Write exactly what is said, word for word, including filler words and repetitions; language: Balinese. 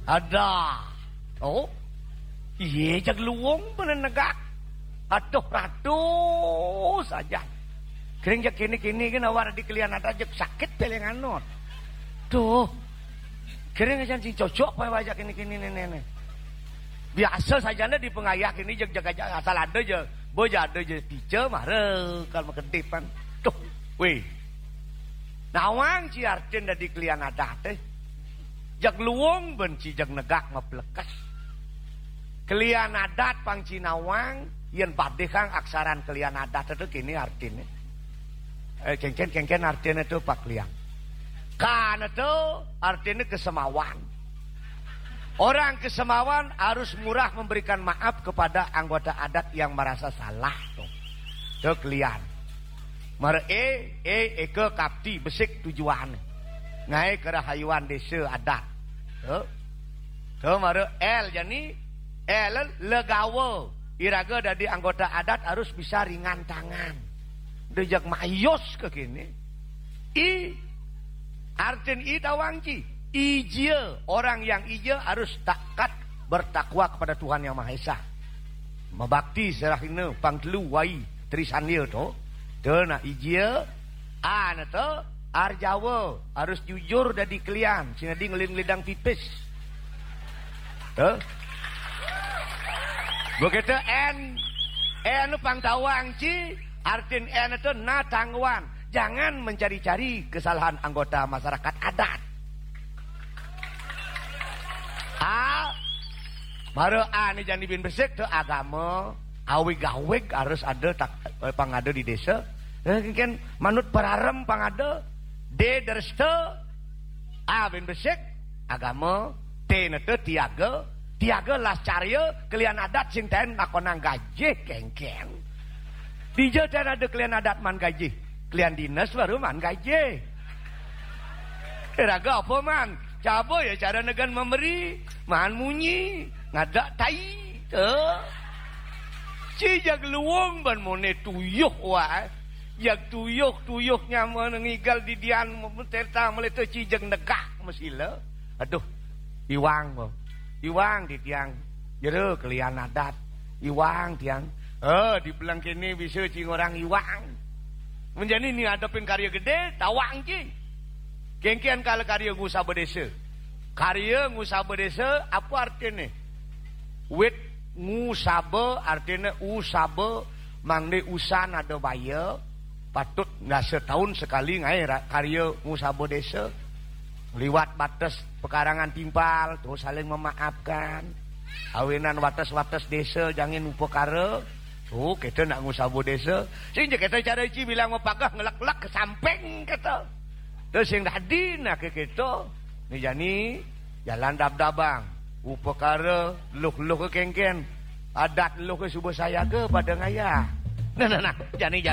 Ada. Oh. Iye, jeg luung bén negak. Aduh, ratu saja. Kering jeg kini-kini kan awak di kelian ada jeg sakit pelenganon. Tuh. Kering aja sing cocok pae wajah kini-kini nenek. Biasa saja di pengayah kini jeg jaga asal ada je. Bo ja ada je pica mara kal makedipan. Tuh. Weh. Nawang ci artin dadi kelian adat eh. Jeg luung bén ci jeg negak maplekes. Kelian adat pang ci nawang, yen padihang aksaran kelian adat itu kini artine. Eh, kengken, kengken artine itu pak liang. Kan itu artine kesemawan. Orang kesemawan harus murah memberikan maaf kepada anggota adat yang merasa salah tuh. Itu kelian. Mara E, E, eka kapti, besik tujuan. Ngae kerahayuan desa adat. Tuh. Tuh, mara L, jani L, legawa. Iraga dadi anggota adat harus bisa ringan tangan. Dejak mayos ke kini. I, artin I tawang ci. Ijia, orang yang ijia harus taat bertakwa kepada Tuhan Yang Maha Esa. Mabakti serahina pang telu wai trisandia to. To nak ijia, ana to arjawa harus jujur dadi kelian, sing dadi ngelid-ngelidang pipis. To. Begitu N, N pang tawang ci, artin N itu natangguan. Jangan mencari-cari kesalahan anggota masyarakat adat. A, mara A ni jani bin besik tu agama, awig-awig harus ada tak, eh, pangada di desa. Eh, kan manut pararem pangada, D deresta, A bin besik, agama, T nete tiaga, tiaga las carya, kelian adat sing ten lakonang gajih kengkeng. Dija ten ada kelian adat man gajih, kelian dinas baru man gajih. Raga apa man? Caba ya cara negan memberi, man munyi, ngadak tai. Eh. Ci jag luung ban mone tuyuh wae. Jag tuyuh, tuyuh nyaman ngigal didian teta meleta ci jag negak mesila. Aduh, iwang ko. Iwang di tiang. Jero kelian adat. Iwang tiang. Eh, di belang kene bisa ci ngorang iwang. Menjani ni adepin karya gede, tawang ci. Kengkian kala karya ngusaba desa. Karya ngusaba desa, apa artine? Wit ngusaba artine usaba, mangde usan ada baya, patut nggak setahun sekali ngae ra-, karya ngusaba desa. Liwat batas pekarangan timpal, tuh saling memaafkan. Awinan wates-wates desa jangin upakara. Tuh, kita nak ngusaba desa. Sing je kita cara ci bilang mapagah ngelek-lek ke samping kita. Terus sing dadi nak ke kita. Ni jani jalan dab-dabang. Upakara luh-luh ke kengken. Adat luh ke suba sayaga pada ngaya. Nah, nah, nah. Jani, jani.